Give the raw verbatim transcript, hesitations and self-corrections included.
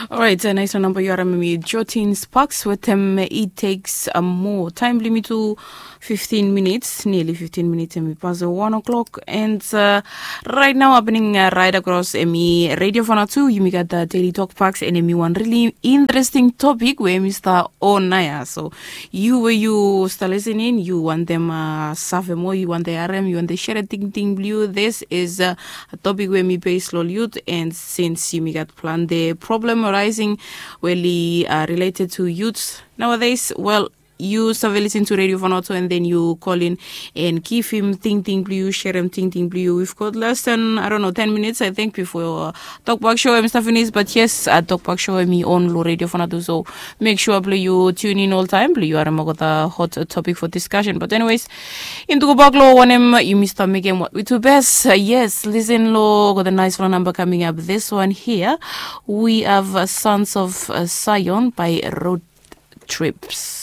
Orait, nais long namba yu harim em i Jotin Sparks wetem It Takes a More. Taem blong yumi tu fiftin minits, nearly fiftin minits em i pas wan o'clock. And uh, right now happening uh, right across em i Radio Fana tu, yumi gat uh, Daily Talk Box and em i wan really interesting topic we em i start on naya. So you we you start listening, you want them uh, save more, you want the R M, you want the share tingting blue. This is uh, a topic we mi base long youth and since yumi gat plante problem arising we li uh, related to youths nowadays, well, you save listen to Radio Vanuatu and then you call in and give him tingting blue, share him tingting blue. We've got less than, I don't know, ten minutes, I think, before uh, Talk Back Show em start finish. But yes, uh, Talk Back Show em on lo Radio Vanuatu. So make sure blue you tune in all time. Blue you are the hot topic for discussion. But anyways, in to go back lo one em you must make him what we do best. Uh, yes, listen lo, got a nice phone number coming up. This one here, we have uh, Sons of uh, Zion by Road Trips.